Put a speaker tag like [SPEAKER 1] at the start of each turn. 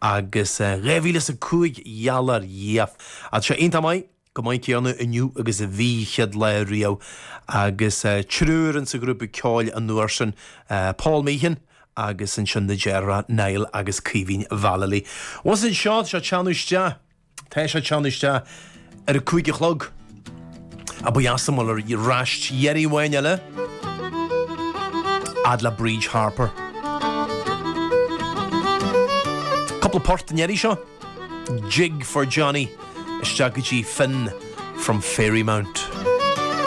[SPEAKER 1] Agus 2005 gheall ar Dhia. Tá sé iontach maith, chomh maith céanna inniu agus a bhí chéad lá riamh. Agus triúr insa ghrúpa ceoil an uair sin, Paul Meehan agus ansin na deartháireacha Niall agus Caoimhín Vallely. Bhus anseo, tá sé ag teannadh isteach. Tá sé ag teannadh isteach ar a 5 a chlog. A ba dheas liom dul ar ais iarraidh amháin eile fhad le Bríd Harper. Cúpla port an iarraidh seo. Jig for Johnny isteach go dtí Finn from Fairymount.